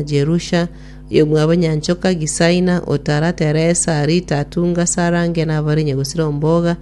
Jerusha, oyomwabo Nyanchoka, Gisaina, Otara, Teresa, Rita, Atunga, Sarange, na abare Nyagosira Omboga,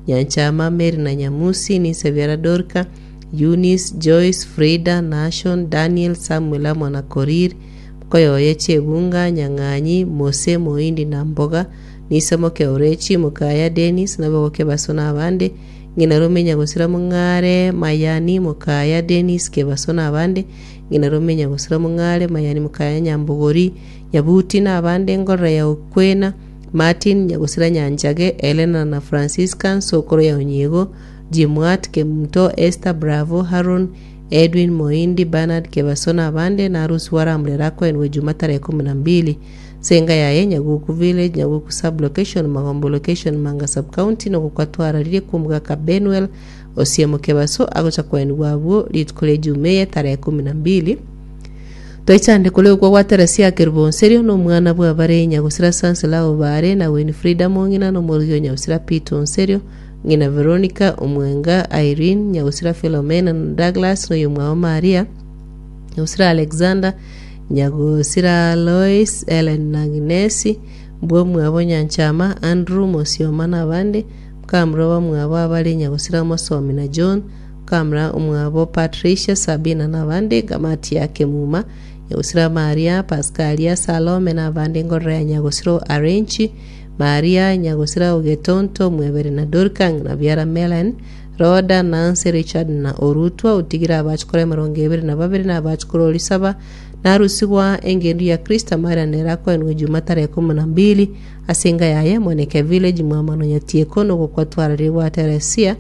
Nyanchama, Mary na Nyamusi, Nisebiara Dorka, Eunice, Joyce, Frida, Nashon, Daniel, Samuel amo na Korir, Mokoyoye, Chebunga, Nyang'anyi, Mose, Moindi na Mboga, Nisemoke Orechi, Mokaya Denis, Nabogoke Baso na abande, Ng'ina Rome Nyagosira Mong'are, Mayani, Mokaya Denis, Kebaso na abande, Ng'ina Rome Nyagosira Mong'are, Mayani Mokaya Nyambogori, Nyabuti na abande, Ngorora ya Okwena, Martin, Nyagosira Nyanchage, Elena na Francisca, Nsokoro ya Onyiego, Jimwat, Kemunto, Esther, Bravo, Haron, Edwin, Moindi, Bernard, Kebaso na abande, na Arusi Waramurera akoenigwe Juma tarehe ikomi na mbili. Ase enga yaye, Nyaguku Village, Nyaguku Sub-location, Magombo Location, Manga Sub-county, nogokwa twararirie kw'omogaka Benuel Osiemo Kebaso agocha koenigwa abwo rituko ria Ejuma eye tarehe ikomi na mbili. Twaichande kore okwo gwa Teresia Kerubo Onserio na omwana bw'abare Nyagosira Sansila Obare na Winfrida Mong'ina na omorogi o Nyagosira Peter Onserio, ng'ina Veronica, Omwenga, Irene, Nyagosira Philomena na Douglas na oyomwabo Maria, Nyagosira Alexander, Nyagosira Lois, Ellen na Agnesi, mbwomwabo Nyanchama, Andrew, Mosioma na abande, Mukamura bamwabo abare Nyagosira Mosomi na John, Mukamura omwabo Patricia, Sabina na abande, Gamati ya Kemuma, Nyagosira Maria, Pascalia, Salome na abande Ngorora ya Nyagosira Arenchi, Maria, Nyagosira Ogetonto, Mwebere na Dorika, ng'ina biara Melen, Rhoda, Nancy, Richard na Orutwa, otigire abachukuru emerongo ebere na babere na abachukuru orisaba, narusigwa engendu ya Kristo amariana nere akoenigwa Juma tarehe ikomi na mbili ase enga yaye Moneke Village Mwamano Nyatieko nogokwa twararire gwa Teresia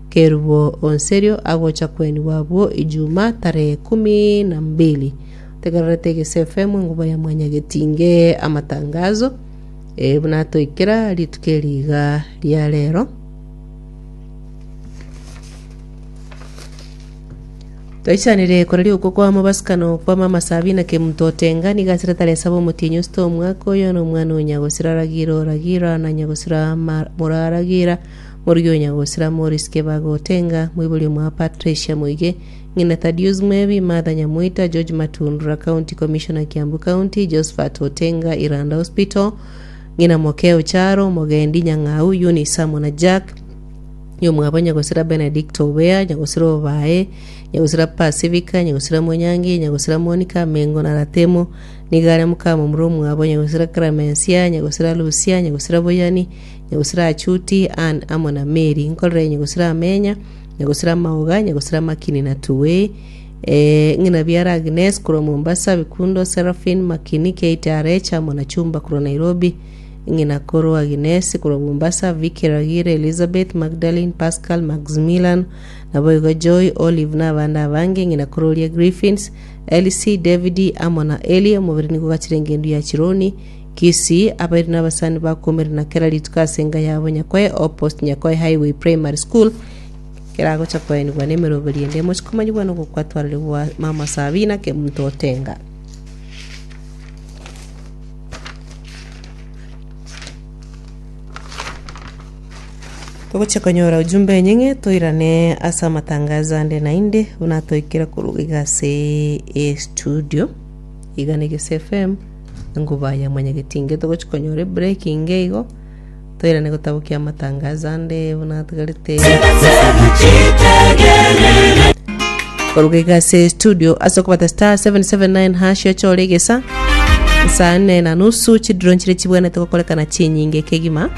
Kerubo Onserio agocha koenigwa abwo Ijuma tarehe kumi na mbili. Tegererete Egese FM enguba ya Mwanyagetinge amatangazo eh, buna atoikera rituko eri iga ria rero. Toichanire koraria okwo kwa mobasikano kwa mama Sabina Kemunto Otenga nigo asire tarehe saba omotienyi osito omwaka oyo na omwana o nyagosira Ragira o Ragira na nyagosira Moraragira morugi o nyagosira Morris Kebago Otenga moibori omwa Patricia Moige ng'ina Thaddeus Mwebi Martha Nyamoita George Matundura County Commissioner Kiambu County Josephat Otenga Iranda Hospital ng'ina Mokeo Charo Mogendi Nyang'au Eunice amo na Jack Nyomwabo nyagosira Benedicto Obea, nyagosira Obae, nyagosira Pasifika, nyagosira Monyangi, nyagosira Monica, Mengo na Ratemo, nigo are mokamomura omwabo, nyagosira Clemencia, nyagosira Lucia, nyagosira Boyani, nyagosira Achuti, Ann amo na Mary. Nkorere nyagosira Amenya, nyagosira Maoga, nyagosira Makini na Tuwei, eh, ng'ina biara Agnes korwa Mombasa, Bikundo, Seraphine, Makini, Kate Arecha amo na Chumba korwa Nairobi, Ng'ina korwa Aginesi, korwa Mombasa, Vicky Ragire, Elizabeth, Magdalene, Pascal, Maximilian, naboigo Joy, Olive na abande abange, ng'ina korwa oria Griffins, Elsie, David, amo na Eli, omobere nigo ogachire engendu ya Chironi, Kisii, abairi na abasani bakomerana na kera rituko ase enka yabo Nyakoe Opposite Nyakoe Highway Primary School, keragocha koenigwa nemeroberi ende emochie komanyigwa nogokwatwarerigwa Mama Sabina Kemunto Otenga. Togochia konyora ujumbe enyeng'e toirane ase amatangazo ande naende buna toikire korwa iga ase estudio iga na Egese FM enguba ya mwanyagetinge togochia konyora ebreak inge igo toirane gotabokia amatangazo ande buna atigarete Koruga iga ase studio ase okobata star 779 hash ochore egesa saa nne na nusu chidro nchire chibwenerete gokorekana chinyinge kegima.